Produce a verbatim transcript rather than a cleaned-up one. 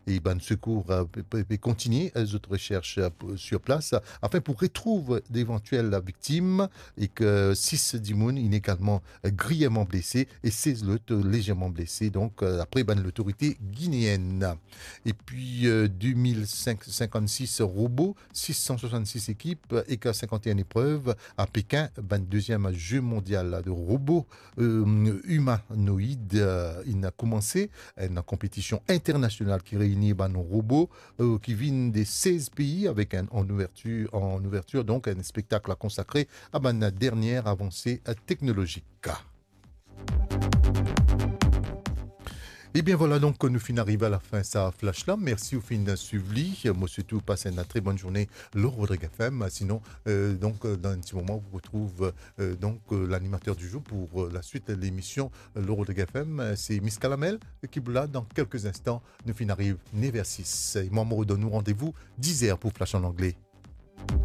e bann sekour, euh, pe, pe, pe kontigne, euh, zot resers, euh, pou, sur plas, euh, afin pou retrouv devantiel viktim, e ke sis dimoun inn egalman, euh, griyevman blese e sez lot, euh, lezerman blese, donk, euh, dapre bann lotorite gineen. Epi, euh, de mil senk, sinkannsis robo, sis san swasannsis ekip, euh, ek sinkannenn eprev a Pekin, bann deziem Ze Mondial de Robo, euh, Imanoid, euh, inn koumanse, enn konpetision internasional ki reini bann robo, euh, ki vinn de sez pei avek enn, an ouvertir, an ouvertir, donk, enn spektak konsakre a bann dernie avanse, euh, teknolozik. Ebien, vwala, donk, nou finn ariv a lafin sa flash la. Mersi ou finn swiv li. Mo swete ou pas enn tre bonn zourne lor Rodrig F M. Sinon, euh, donk, euh, dan enn ti moman, ou retrouv, euh, donk, euh, l'animateur du jour pour, euh, la suite de l'émission, euh, lor Rodrig F M. Euh, se Miss Kalamel ki pou la dan kelke instan. Nou finn ariv nev er sis. E mwa, mo donn ou randevou diz er pou Flash an Angle.